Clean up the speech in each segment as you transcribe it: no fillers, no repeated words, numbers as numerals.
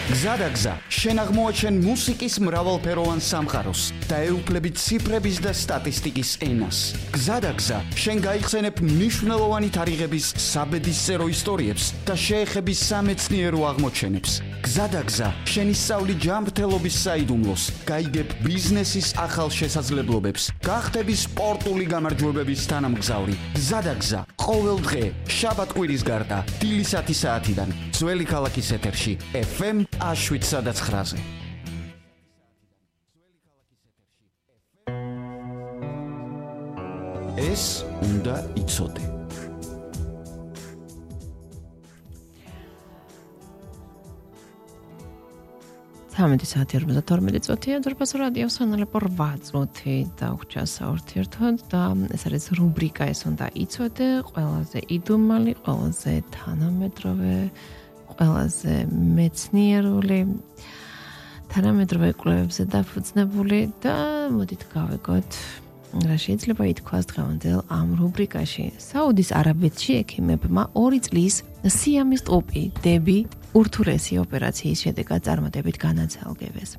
გზადაგზა, შენ აღმოაჩენ მუსიკის მრავალფეროვან სამყაროს და ეუფლებით ციფრების და სტატისტიკის ენას. გზადაგზა, შენ გაიხსენებ მნიშვნელოვანი თარიღების საბედისწერო ისტორიებს და შეეხები სამეცნიერო აღმოჩენებს. გზადაგზა, შენ ისწავლი ჯანმრთელობის საიდუმლოს, გაიგებ ბიზნესის ახალ შესაძლებლობებს, გახდები სპორტული გამარჯვებების თანამგზავრი. გზადაგზა, ყოველ დღე, შაბათ-კვირის გარდა, დილის 10 საათიდან, ძველი ქალაქის ეთერში, FM 7-9-ზე. ეს უნდა იცოდე. საათი 42 წუთია დურბას რადიოს სანალე 8 წუთი და უხჩასაურთიერთოდ და ეს არის რუბრიკა ეს უნდა იცოდე, ყველაზე იდუმალი, ყველაზე თანამედროვე, ყველაზე მეცნიერული, თანამედროვე კვლევებზე დაფუძნებული და მოდით გავეგოთ რა შეიძლება ითქვას დღევანდელ ამ რუბრიკაში. საუდის არაბეთში ექიმებმა 2 წლის სიამის ტყუპი ურთულესი ოპერაციის შედეგად წარმატებით განაცალკევეს.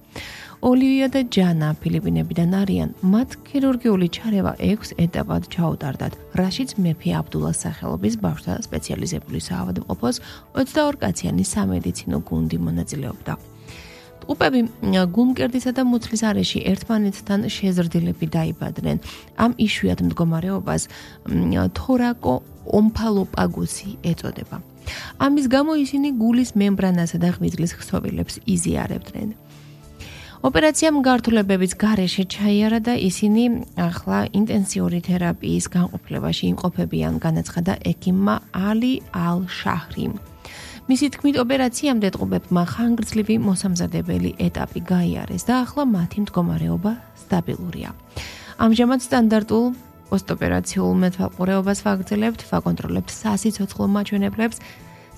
ოლივია და ჯანა ფილიპინებიდან არიან, მათ ქირურგიული ჩარევა 6 ეტაპად ჩაუტარდათ, რაშიც მეფე აბდულას სახელობის ბავშვთა სპეციალიზებული საავადმყოფოს 22 კაციანი სამედიცინო გუნდი მონაწილეობდა. ტყუპები გულმკერდისა და მუცლის არეში ერთმანეთთან შეზრდილები დაიბადნენ. ამ იშვიათ მდგომარეობას თორაკო ომფალოპაგუსი ეწოდება. ამის გამო ისინი გულის მემბრანასა და ღვიძლის ხსოვილებს იზიარებდნენ. ოპერაციამ გართულებების გარეშე ჩაიარა და ისინი ახლა ინტენსიური თერაპიის განყოფილებაში იმყოფებიან, განაცხადა ექიმმა ალი ალ-შაჰრიმ. მისი თქმით, ოპერაციამდე ტყუპებმა ხანგრძლივი მოსამზადებელი ეტაპი გაიარეს და ახლა მათი მდგომარეობა სტაბილურია. ამჟამად სტანდარტულ პოსტოპერაციულ მეთვალყურეობას ვაგრძელებთ, ვაკონტროლებთ სასიცოცხლო მაჩვენებლებს,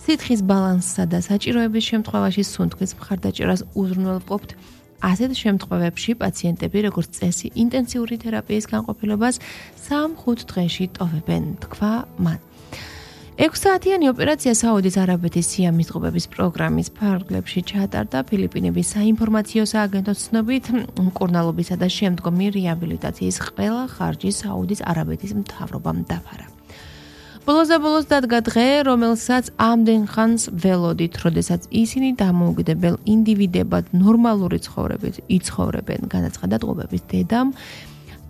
სითხის ბალანსსა და საჭიროების შემთხვევაში სუნთქვის მხარდაჭერას უზრუნველყოფთ. ასეთ შემთხვევებში პაციენტები, როგორც წესი, ინტენსიური თერაპიის განყოფილებას 3-5 დღეში ტოვებენ, თქვა მან. 6 საათიანი ოპერაცია საუდის არაბეთის სიამის ტყუპების პროგრამის ფარგლებში ჩაატარდა. ფილიპინების საინფორმაციო სააგენტოს ცნობით, მკურნალობისა და შემდგომი რეაბილიტაციის ყველა ხარჯი საუდის არაბეთის მთავრობამ დაფარა. ბოლოს დადგა დღე, რომელსაც ამდენ ხანს ველოდით, როდესაც ისინი დამოუკიდებელ ინდივიდებად ნორმალური ცხოვრებით იცხოვრებენ, განაცხადა ტყუპების დედამ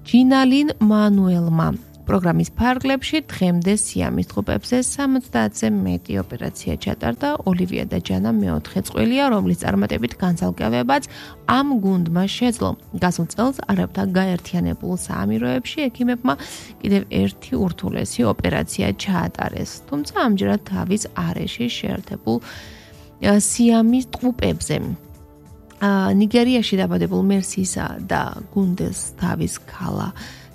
ჯინალინ მანუელმა. პროგრამის ფარგლებში დღემდე სიამის ტყუპებზე 70-ზე მეტი ოპერაცია ჩატარდა. ოლივია და ჯანა მეოთხე წყვილია, რომლის წარმატებით განცალკევებაც ამ გუნდმა შეძლო. გასულ წელს არაბთა გაერთიანებულ საამიროებში ექიმებმა კიდევ ერთი ურთულესი ოპერაცია ჩაატარეს. თუმცა ამჯერად თავის არეში შეერთებულ სიამის ტყუპებზე. ნიგერიაში დაბადებულ მერსისა და გუნდეს თავის ქალა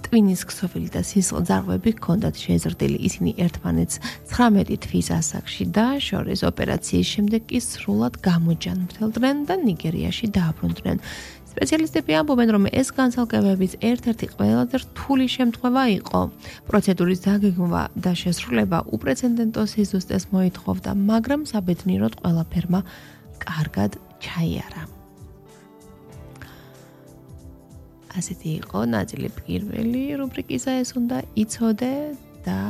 ტვინის ქსოვილი და სისხლძარღვები ჰქონდათ შეზრდილი. ისინი ერთმანეთს 19 თვის ასაკში და შორის ოპერაციის შემდეგ კი სრულად გამოჯანმრთელდნენ და ნიგერიაში დააბრუნდნენ. სპეციალისტები ამბობენ, რომ ეს განცალკევების ერთ-ერთი ყველაზე რთული შემთხვევა იყო. პროცედურის დაგეგმვა და შესრულება უპრეცედენტო სიზუსტეს მოითხოვდა, მაგრამ საბედნიეროდ ყველაფერმა კარგად ჩაიარა. ასეთი იყო ნაწილი პირველი რუბრიკისა ეს უნდა იცოდე და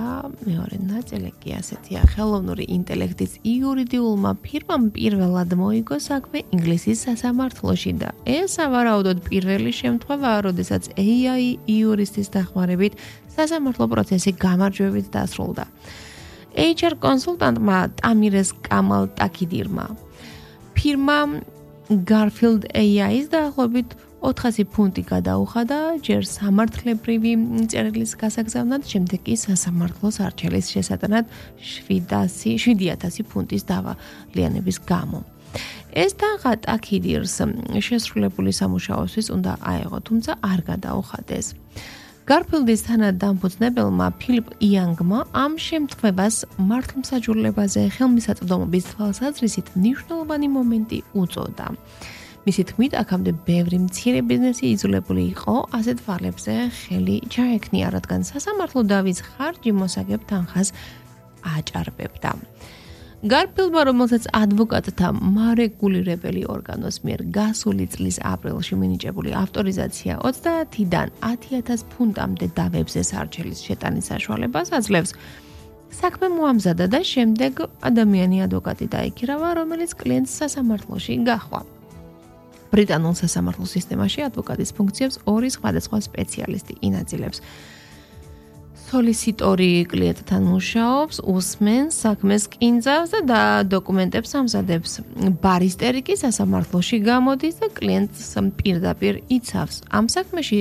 მეორე ნაწილი კი ასეთია. ხელოვნური ინტელექტის იურიდიულმა ფირმამ პირველად მოიგო საქმე ინგლისის სასამართლოში და ეს სავარაუდოდ პირველი შემთხვევაა, როდესაც AI იურისტის დახმარებით სასამართლო პროცესი გამარჯვებით დასრულდა. HR კონსულტანტმა ტამირეს კამალ ტაკიდირმა ფირმა Garfield AI-ის დაახლოებით 400 ფუნტი გადაუხადა ჯერ სამართლებრივი წერილის გასაგზავნად, შემდეგ კი სასამართლოს არჩევის შესატანად 7000 ფუნტის დავალიანების გამო. ეს თანხა ტაკიდირს შესრულებული სამუშაოსთვის უნდა აეღო, თუმცა არ გადაუხადეს. Garfield-ის თანადამფუძნებელმა ფილიპ იანგმა ამ შემთხვევას მართლმსაჯულებაზე ხელმისაწვდომობის თვალსაზრისით მნიშვნელოვანი მომენტი უწოდა. მისი თქმით, აქამდე ბევრი მცირე ბიზნესი იძულებული იყო ასეთ ვალებზე ხელი ჩაექნია, რადგან სასამართლო დავის ხარჯი მოსაგებ თანხას აჭარბებდა. გარფილდმა, რომელსაც ადვოკატთა მარეგულირებელი ორგანოს მიერ გასული წლის აპრილში მინიჭებული ავტორიზაცია 30-დან 10,000 ფუნტამდე დავებზე სარჩელის შეტანის საშუალებას აძლევს, საქმე მოამზადა და შემდეგ ადამიანი ადვოკატი დაიქირავა, რომელიც კლიენტს სასამართლოში გაჰყვა. ბრიტანულ სასამართლო სისტემაში ადვოკატის ფუნქციებს ორი სხვადასხვა სპეციალისტი ინაწილებს. სოლისიტორი კლიენტთან მუშაობს, უსმენს, საქმეს კინძავს და დოკუმენტებს ამზადებს. ბარისტერი კი სასამართლოში გამოდის და კლიენტს პირდაპირ იცავს. ამ საქმეში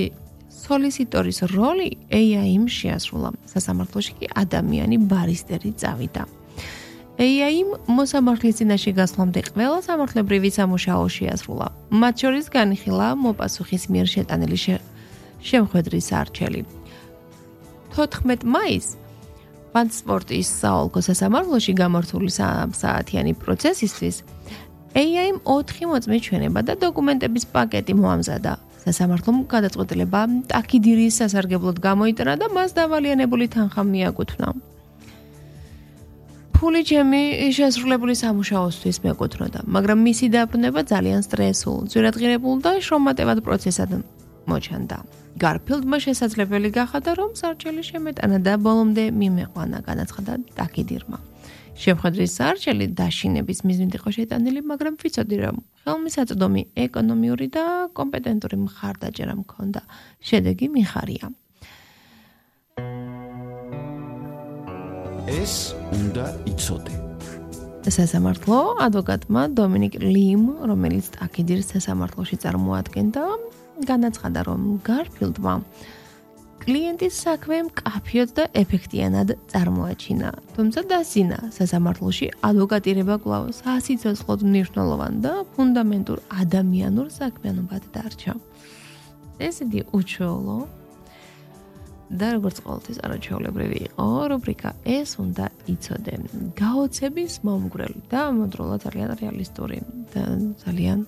სოლისიტორის როლი AI-მ შეასრულა. სასამართლოში კი ადამიანი ბარისტერი წავიდა. AI-მ მოსამართლის წინაშე გასვლამდე ყველა სამართლებრივი სამუშაო შეასრულა. მათ შორის განიხილა მოპასუხის მიერ შეტანილი შემხვედრის არჩელი. 14 მაისს ვანსპორტის საოლქო სასამართლოში გამართული 3 საათიანი პროცესისთვის AI-მ 4 მოწმე ჩვენება და დოკუმენტების პაკეტი მოამზადა. სასამართლომ გადაწყვეტილება ტაქიდირის სასარგებლოდ გამოიტანა და მას დავალიანებული თანხა მიაკუთვნა. ფული ჩემი შესრულებული სამუშაოსთვის მეკუთვნოდა, მაგრამ მისი დაბრუნება ძალიან სტრესულ, ძვირადღირებულ და შრომატევად პროცესად მოჩანდა. გარფილდმა შესაძლებელი გახადა, რომ სარჩელი შემეტანა და ბოლომდე მიმეყვანა, განაცხადა ტაქიდირმა. შემხედრის სარჩელი დაშინების მიზნით იყო შეტანილი, მაგრამ ვიცოდი, რომ ხელმისაწვდომი ეკონომიური და კომპეტენტური მხარდაჭერა მქონდა. შედეგი მიხარია. ეს უნდა იცოდე. სასამართლო ადვოკატმა დომინიკ ლიმ, რომელიც ტაქიდირის სასამართლოში წარმოადგენდა, განაცხადა, რომ გარფილდმა კლიენტის საქმე მკაფიოდ და ეფექტიანად წარმოაჩინა, თუმცა დასინა სასამართლოში ადვოკატირება კვლავ სასიცოცხლოდ მნიშვნელოვან და ფუნდამენტურ ადამიანურ საქმიანობად დარჩა. ეს იგი უჩვეულო და როგორც ყოველთვის არაჩვეულებრივი იყო რუბრიკა ეს უნდა იცოდე. გაოცების მომგვრელი და ამავდროულად ძალიან რეალისტური და ძალიან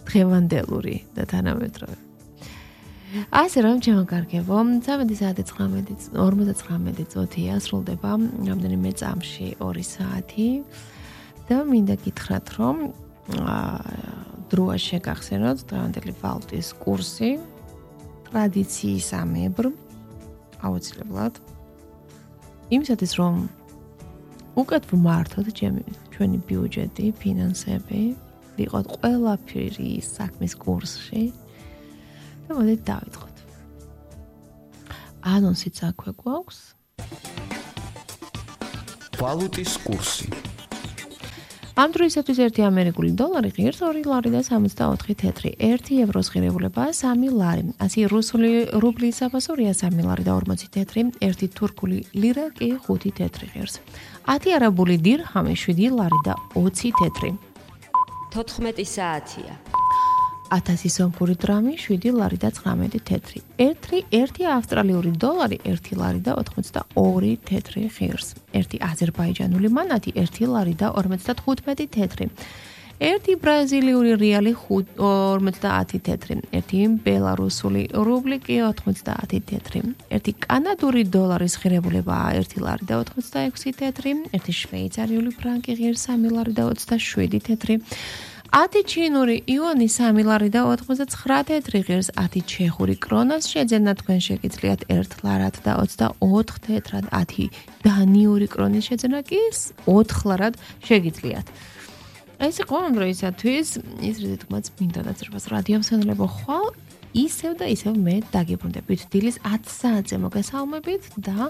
დღევანდელური და თანამედროვე. ასე რომ ჩემო კარგებო, 13:49 წუთია სრულდება რამდენიმე წამში 2 საათი და მინდა გითხრათ, რომ დროა შეგახსენოთ დღევანდელი ვალუტის კურსი ტრადიციისამებრ აუცილებლად იმისათვის რომ უკეთ ვმართოთ ჩვენი ბიუჯეტი, ფინანსები, ვიყოთ ყველაფერი საქმის კურსში და მოდით დავიწყოთ. ანონსიც აქვე გვაქვს. ვალუტის კურსი. ამ დროისათვის 1 ამერიკული დოლარი ღირს 2 ლარი და 64 თეთრი, 1 ევროს ღირებულებაა 3 ლარი, 100 რუსული რუბლის საფასურია 3 ლარი და 40 თეთრი, 1 თურქული ლირა კი 5 თეთრი ღირს. 10 არაბული დირჰამი 7 ლარი და 20 თეთრი. 14 საათია. 1000 სომხური დრამი 7 ლარი და 19 თეთრი. 1 ავსტრალიური დოლარი 1 ლარი და 82 თეთრი ღირს. 1 აზერბაიჯანული მანატი 1 ლარი და 55 თეთრი. 1 ბრაზილიური რეალი 50 თეთრი. 1 ბელარუსული რუბლი კი 90 თეთრი. 1 კანადური დოლარის ღირებულებაა 1 ლარი და 86 თეთრი. 1 შვეიცარიული ფრანკი ღირს 3 ლარი და 27 თეთრი. 10 ჩინური იონი 3 ლარი და 89 თეთრი ღირს. 10 ჩეხური კრონას შეძენა თქვენ შეგიძლიათ 1 ლარად და 24 თეთრად. 10 დანიური კრონის შეძენა კი 4 ლარად შეგიძლიათ. ეს იყო ამ დროისათვის ის რითმაც მინდა დაძრებას რადიო მსმენელებო ხვალ ისევ და ისევ მე დაგიბრუნდებით დილის 10 საათზე მოგესალმებით და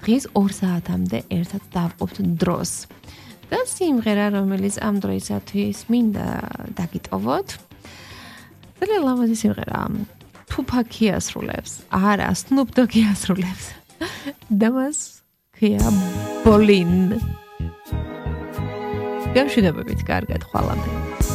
დღის 2 საათამდე ერთად დავყოფთ დროს. და სიმღერა, რომელიც ამ დროისათვის მინდა დაგიტოვოთ. ძალიან ლამაზი სიმღერა. თუფაკი ასრულებს. არა, Snoop Dogg ასრულებს. და მას ქვია ბოლინ. გამშვიდობებით, კარგად ხვალამდე.